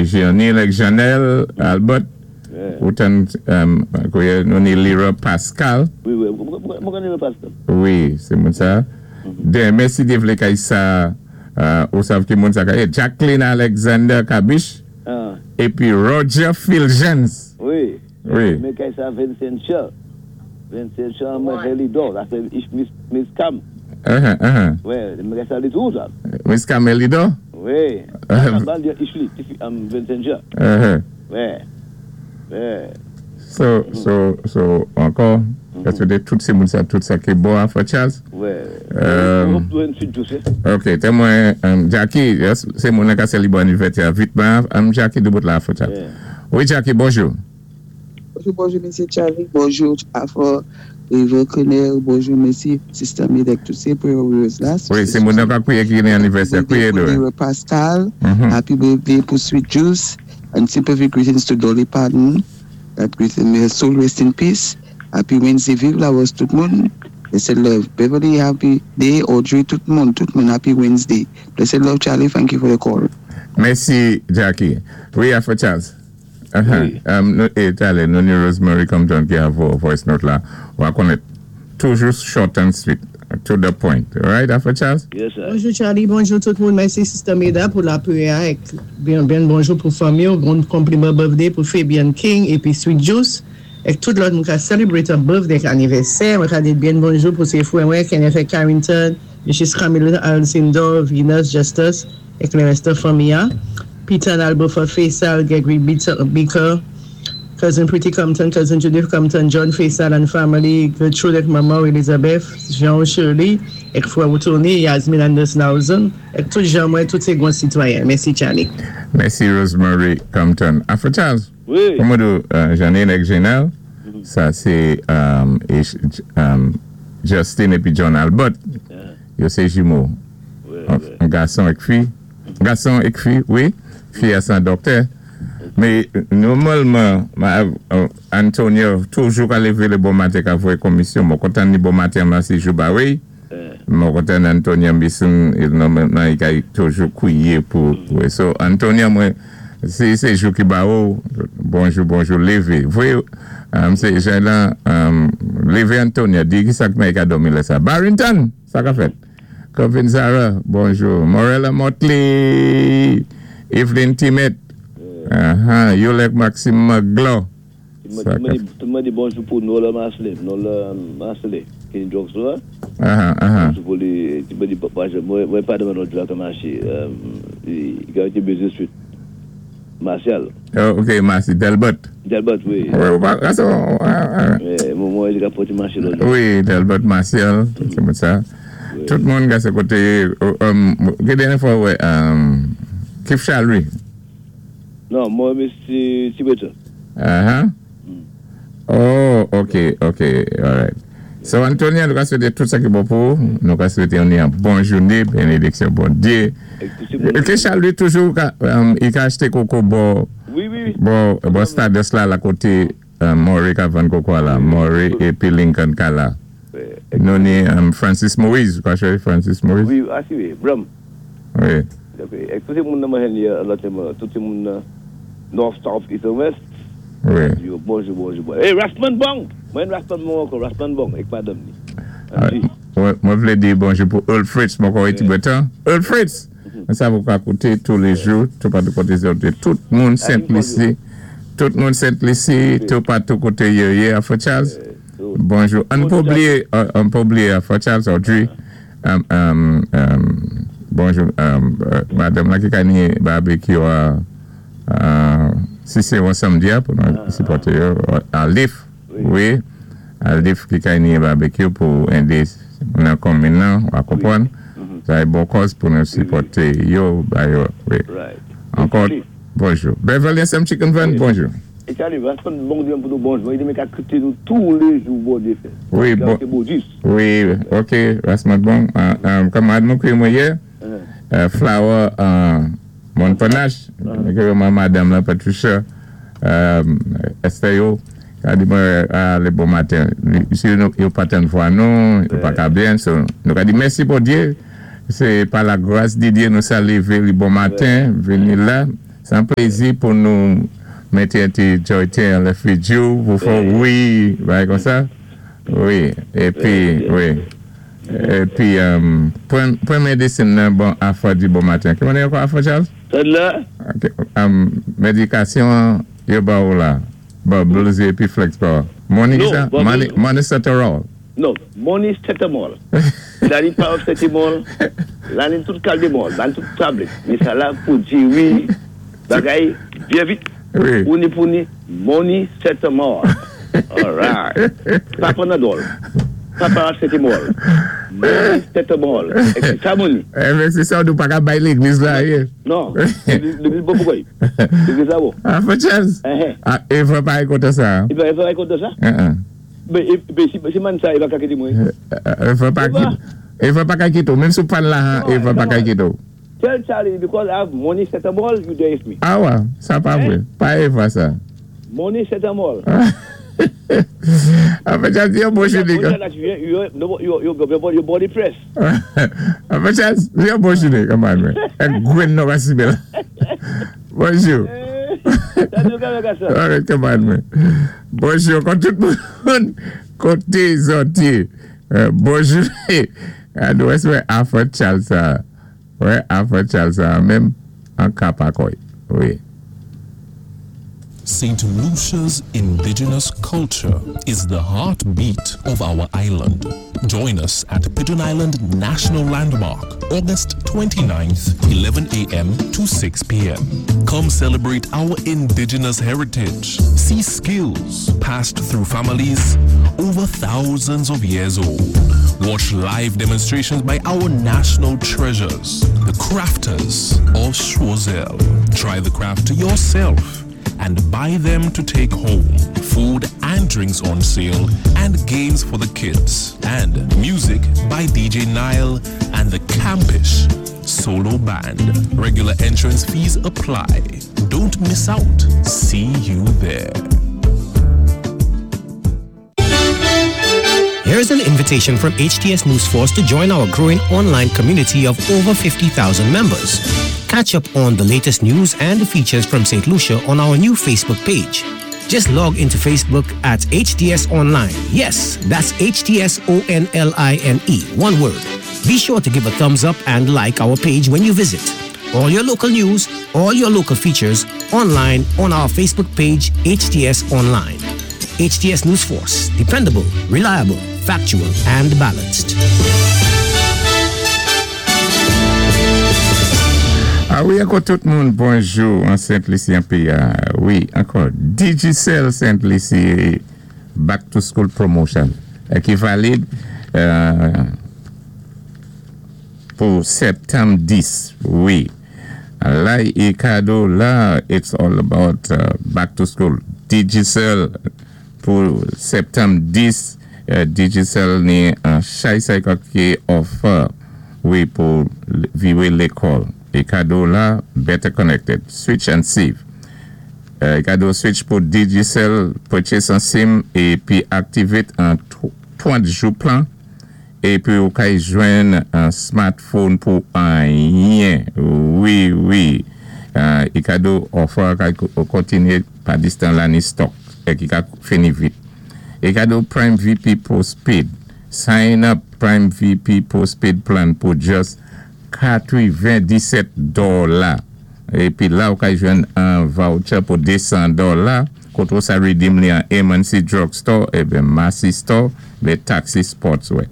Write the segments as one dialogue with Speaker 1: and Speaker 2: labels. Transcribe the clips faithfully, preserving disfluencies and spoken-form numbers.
Speaker 1: Jeanine ak Janelle, Albert, ou tann, kouwè, nou ni Lira Pascal.
Speaker 2: Wi, wi, mwen konnen Lira Pascal.
Speaker 1: Wi, sé moun sa. Den, mèsi de vlé kay sa, ou sav ki moun sa kay, Jacqueline Alexander Kabish, épi Roger Filgens.
Speaker 2: Wi.
Speaker 1: Wi.
Speaker 2: Men kay sa Vincent Shaw. Vincent Shaw mwen Helidor, la sé Miss Cam.
Speaker 1: Uh-huh, uh-huh.
Speaker 2: Wi, mwen kay sa li tou sa.
Speaker 1: Miss Cam Helidor?
Speaker 2: Wi. Ban di Ishli, Vincent Shaw.
Speaker 1: Uh-huh.
Speaker 2: Wi. Wi.
Speaker 1: So, so, so, ankò, èské tout sé moun sa, tout sa ki bon a for Charles?
Speaker 2: Wi.
Speaker 1: Ok, té mwen, Jackie, sé moun nan ka sélibwé anivèsè vitman, Jackie doubout la for Charles. Wi, Jackie, bonjou.
Speaker 3: Bonjou, bonjou, Mesye Charlie. Bonjou, Afro, Rivo Kenel. Bonjou, Mesye Sister Medek, tout sé prayer warriors la.
Speaker 1: Wi, sé moun nan ka kwiyé ki ni anivèsè, kwiyé do.
Speaker 3: Happy birthday Pascal. Happy birthday pou Sweet Juice. And sympathy greetings to Dolly Parton. That greeting, may her soul rest in peace. Happy Wednesday, viv Lawos tout moun. Blessed love, Beverly, happy day. Audrey, tout moun, tout moun, happy Wednesday. Blessed love, Charlie, thank you for the call.
Speaker 1: Mèsi, Jackie. Wi, Afro Charles. Uh-huh. Talè, nou ni Rosemary Compton ki a vo voice note la. Wa konnen toujou short and sweet, to the point. Right, Afro Charles?
Speaker 2: Yes, sir.
Speaker 4: Bonjou Charlie, bonjou tout moun. Mèsi Sister Meda pou la priyè. Byen, byen bonjou pou fanmi, bon konpliman birthday pou Fabian King épi Sweet Juice. Ek tout lòt moun ka celebrate a birthday anivèsè. Mwen ka di byen bonjou pou sé fwè mwen, Kenneth Carrington, Missus Camille Alcindor, Venus Justus, ek lé rès fanmi. Peter and Albert Faisal, Gregory Beaker, Cousin Pretty Compton, Cousin Judith Compton, John Faisal and family, Gertrude ek manman Elizabeth, Jean Shirley, ek fwè Tony, Yasmin Anderson, ek tout jan mwen, tout sé gwan sitwayen. Mèsi Charlie.
Speaker 1: Mèsi Rosemary Compton. Afro Charles.
Speaker 2: Wi.
Speaker 1: Kòman do Janine ek Janelle, sa sé Justin épi John Albert. Yo sé jimo. An gason ek fi. Gason ek fi, wi. Fi a san doktè. Mé nòmalman, Antonio toujou ka lévé lé bon maten ka voyé komisyon. Mwen kontan ni bon maten masi jou ba wè. Mwen kontan Antonio Mbison, nòmalman i ka toujou kwiyé pou. So Antonio mwen, si sé jou ki ba ou, bonjou, bonjou, lévé. Voyé, sé jan lan, lévé Antonio, di ki sak mwen ka dòmi lè sa. Barrington, sa ka fèt. Kevin Zara, bonjou. Morella Motley, Evelyn Timet, Yolek Maxime Maglo.
Speaker 2: Mwen di bonjou pou Nola Masley, Nola Masley, ki ni drugstore. Bonjou pou li, mwen di mwen pa deman nou dwa ka maché, i ka iti Business Street. Martial.
Speaker 1: Ok, Marcy, Delbert.
Speaker 2: Delbert, wi.
Speaker 1: Wi, ou pa, aso.
Speaker 2: Mwen mwen di ka poti maché lò.
Speaker 1: Wi, Delbert Martial, tout se moun sa. Tout moun ga se koté, ki dènyé fwa wè, Kif Chalry.
Speaker 2: Non, mwen mè Tibetan.
Speaker 1: Uh-huh. Oh, ok, ok, alright. So, Antonia, nou ka swété tout sa ki bon pou, nou ka swété yon yon bon jouné, bénédiksyon Bondyé. Ke Chalry toujou, i ka achté koko bo, bo, bo Stardust la, la koté Maury ka vann koko la, Maury épi Lincoln ka la. Nou ni Francis Moïse, kwa chwe Francis Moïse?
Speaker 2: Wi, asi wi, Brum.
Speaker 1: Wi.
Speaker 2: Ek tout sé moun nan mwen hen tout sé moun nan North, South, East and West.
Speaker 1: Wi.
Speaker 2: Yo, bonjou, bonjou, bonjou. Hey, Rasman Bong! Mwen Rasman Bong ankò, Rasman Bong, ek madame ni.
Speaker 1: Mwen vlé di bonjou pou Earl Fritz, mwen kwa iti betan. Earl Fritz! Mwen sa vou ka koute tous les jours, tout patou koté zote, tout moun Saint-Lucie, tout moun Saint-Lucie, tout patou koté yo yé, Afro Charles. Bonjou. An pa blié, an pa blié Afro Charles, Audrey. Bonjou, madame la ki ka ni barbecue a si sé yon samdi a, pou nou sipòté yo, Alif, wi, Alif ki ka ni barbecue pou édé nan konmin nan, wa konpwann. Sa é bon kòz pou nou sipòté yo, ba yo, wi. Ankò, bonjou. Beverly S M Chicken Van, bonjou.
Speaker 2: E Charlie, Rasman Bong di pou nou bonjou. I di mwen ka koute nou tous les jours bon Dieu fait.
Speaker 1: Wi, bon. Wi, ok, Rasman Bong. Kamarad mwen kwe mwen yé, Flower Montpanache, mwen kwe mwen madame la Patricia, Esther yo, ka di mwen le bon maten. Si yo paten fwa nou, yo pa ka bien, so nou ka di mèsi Bondye, sé pa la grâce de Dieu nou sa lévé le bon maten, vini la. Sé an plézi pou nou mété an ti joyté an lè fidjou pou fè wi, bagay kon sa. Wi, épi, wi. Épi, um, pwan, pwan médisin nan bon afò di bon maten. Ki mwen ankò afò Charles?
Speaker 2: Sa la?
Speaker 1: Ok, um, médikasyon yo ba ou la. Bubbles épi Flex Power. Money
Speaker 2: Non,
Speaker 1: sa?
Speaker 2: Bubbles-
Speaker 1: Money, money Ceterol.
Speaker 2: Non, money cetamol. La ni paracetamol, la ni tout caldemol, la ni tout tablette. Mais ça là pour dire oui, bagay, bien vite.
Speaker 1: Wi.
Speaker 2: Ou ni pou ni, money cetamol. All right. Pa Panadol. Pa paracetamol. Money cetamol. Et c'est ça, money.
Speaker 1: Eh, men sé sa, nou pa ka bay légliz la, yé.
Speaker 2: Non, légliz bon poukwa? Légliz la bon.
Speaker 1: Ah, for Charles.
Speaker 2: Eh, eh.
Speaker 1: Ah, Eva pa kontan sa.
Speaker 2: I va, i va kontan sa?
Speaker 1: Uh-uh.
Speaker 2: Mais, mais si, si man sa, i va ka kité mwen.
Speaker 1: Eva pa
Speaker 2: Eva.
Speaker 1: Eva pa ka kité ou. Menm si ou pa la,
Speaker 2: Non,
Speaker 1: Eva pa
Speaker 2: non.
Speaker 1: ka kité ou.
Speaker 2: Tell Charlie, because I have money cetamol, you there with me.
Speaker 1: Ah wè, sa pa
Speaker 2: Eh?
Speaker 1: vwé. Pa Eva sa.
Speaker 2: Money cetamol.
Speaker 1: Ah, for Charles, yon bon jouné.
Speaker 2: Money that you, you, you, you, you, your, your body press.
Speaker 1: Ah, for Charles, yon bon jouné, come on, man. Ek gwen nou va si bel. Bonjou.
Speaker 2: Eh, ça nous gagne ça.
Speaker 1: All right, come on, man. Bonjou, kon tout moun koté zòti. Euh, bonjou. Ah, nou wè afò Charles sa. Wè, afò Charles sa, menm an ka pa koy. Wi.
Speaker 5: Saint Lucia's indigenous culture is the heartbeat of our island. Join us at Pigeon Island National Landmark, August 29th, eleven a m to six p m. Come celebrate our indigenous heritage. See skills passed through families over thousands of years old. Watch live demonstrations by our national treasures, the crafters of Choiseul. Try the craft yourself and buy them to take home. Food and drinks on sale and games for the kids. And music by D J Nile and the Campish Solo Band. Regular entrance fees apply. Don't miss out. See you there.
Speaker 6: Here's an invitation from H T S News Force to join our growing online community of over fifty thousand members. Catch up on the latest news and features from Saint Lucia on our new Facebook page. Just log into Facebook at H T S Online. Yes, that's H T S O N L I N E, one word. Be sure to give a thumbs up and like our page when you visit. All your local news, all your local features, online on our Facebook page, H T S Online. H T S News Force, dependable, reliable, factual, and balanced.
Speaker 1: Ah wi, ankò tout moun, bonjou an Sent Lisi an péyi. Wi, ankò Digicel Saint Lucie Back to School Promotion euh, ki valid euh, pou septanm dis. Wi. La, é kado la, it's all about uh, back to school. Digicel pou septanm dis, euh, Digicel ni an chay say ki offer, wi, pou viwé lékòl. É kado la, better connected. Switch and save. Euh, kado switch pou Digicel, purchase an SIM épi activate an trant jou plan. Épi ou kay jwenn an smartphone pou anyen. Wi, wi. Euh, é kado offer kay kontinyé pa distan la ni stock. É ki ka fini vit. É kado Prime V P Postpaid. Sign up Prime V P Postpaid plan pou just katwévendisét dola. Épi la, ou ka jwenn an voucher pou désan dola. Koté ou sa redeem li an M and C Drugstore, ében Massy Store, lé Taxi Sportswear.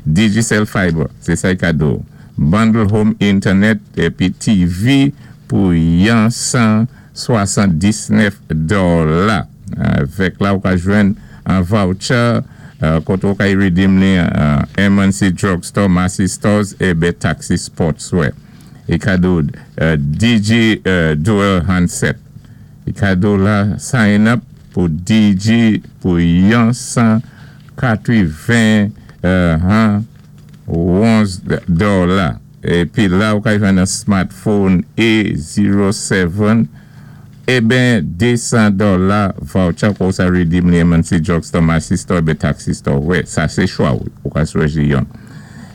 Speaker 1: Digicel Fiber, sé sa kado. Bundle home internet épi T V pou yon san swasanndisnèf dola. Avèk la, ou ka jwenn an voucher euh, koté ou ka redeem li an M and C Drugstore, Massy Stores ében Taxi Sportswear. É kado euh, D J euh, Dual Handset. É kado la, sign up pou D J pou yon san katweven euh, onz dola. Épi la, ou ka jwenn an smartphone A zéro sèt ében désan dola voucher pou sa redeem li M and C Drugstore, Massy Store, ében Taxi Store. Wè, sa sé chwa ou, ou ka chwazi yon.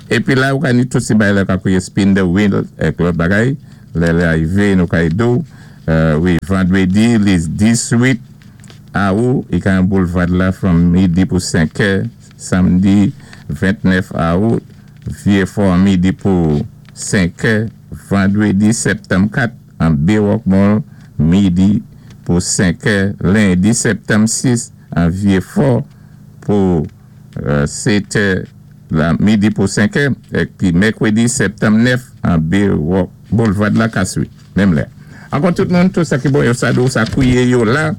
Speaker 1: Épi la, ou ka ni tout si bagay la ka kouwé spin the wheel ek lòt bagay, lè lè arivé nou ka di ou, Euh, wi, vandwédi, lé diz-wit awout, i ka an Boulvad la from midi pou senk è. Samdi ventnèf awout, Vyé-Fò midi pou senk è. Vandwédi septanm kat, an Baywalk Mall, midi pou senk è. Lendi septanm sis, an Vyé-Fò pou euh, sèt è, la midi pou senk è. Épi mèkwédi septanm nèf, an Baywalk, Boulvad la Kaswi, menm lè. Ankò tout moun, tout sa ki bon, yo sa do, sa kwié yo la,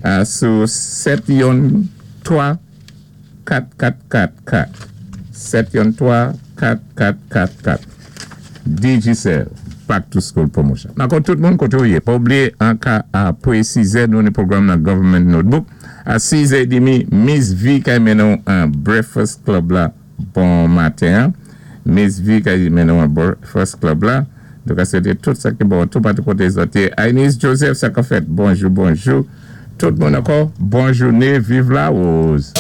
Speaker 1: euh, sou sèt youn twa kat kat kat kat. sèt youn twa kat kat kat kat. Digicel, Back to School Promotion. Ankò tout moun koté ou yé. Pa oubliyé, an ka apwé sis è, nou ni pwogram nan Government Notebook. A sis è demi, Miss V kay mennen an Breakfast Club la bon maten. Miss V kay mennen an Breakfast Club la. Donk, sété tout sa ki bon, tout patou koté zòt. Ainis Joseph, sa ka fèt. Bonjou, bonjou. Tout moun ankò, bon jouné, viv Lawouze.